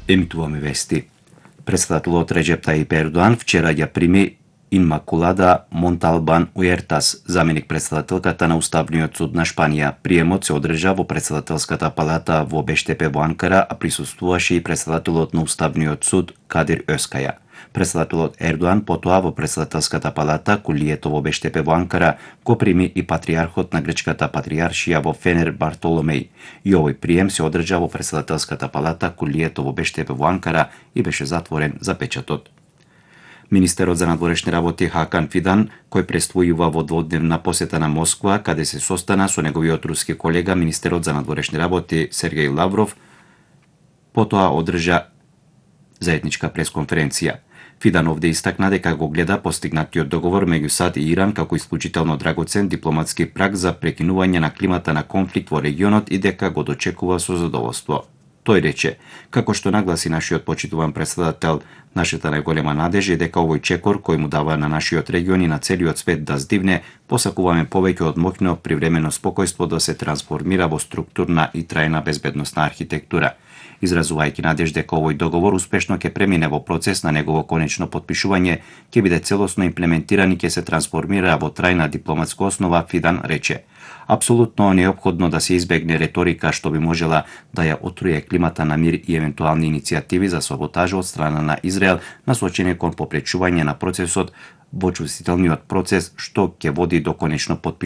Емитуваме вести. Председателот Реджеп Тајип Ердоан вчера ја прими Инмакулада Монталбан Уертас, заменик председателката на Уставниот суд на Шпанија. Приемот се одржа во председателската палата во Бештепе во Анкара, а присуствуваше и председателот на Уставниот суд Кадир Özкаја. Председателот Ердоан потоа во председателската палата Кулието во Бештепе во Анкара го прими и патриархот на грчката патриаршија во Фенер Бартоломеј. И овој прием се одржа во председателската палата Кулието во Бештепе во Анкара и беше затворен за печатот. Министерот за надворешни работи Хакан Фидан, кој престојува во дводневна посета на Москва, каде се состана со неговиот руски колега, министерот за надворешни работи Сергеј Лавров, потоа одржа заедничка пресконференција. Фидан овде истакна дека го гледа постигнатиот договор меѓу САД и Иран како исклучително драгоцен дипломатски праг за прекинување на климата на конфликт во регионот и дека го дочекува со задоволство. Тој рече, како што нагласи нашиот почитуван председател, нашата најголема надежа е дека овој чекор кој му дава на нашиот регион и на целиот свет да здивне, посакуваме повеќе од моќно привремено спокојство да се трансформира во структурна и трајна безбедносна архитектура. Изразувајќи надежда дека овој договор успешно ќе премине во процес на негово конечно потпишување, ќе биде целосно имплементиран и ќе се трансформира во трајна дипломатска основа, Фидан рече. Апсолутно неопходно да се избегне реторика што би можела да ја отруе климата на мир и евентуални иницијативи за саботажа од страна на Израел насочени кон попречување на процесот во чувствителниот процес што ќе води до конечно потпишување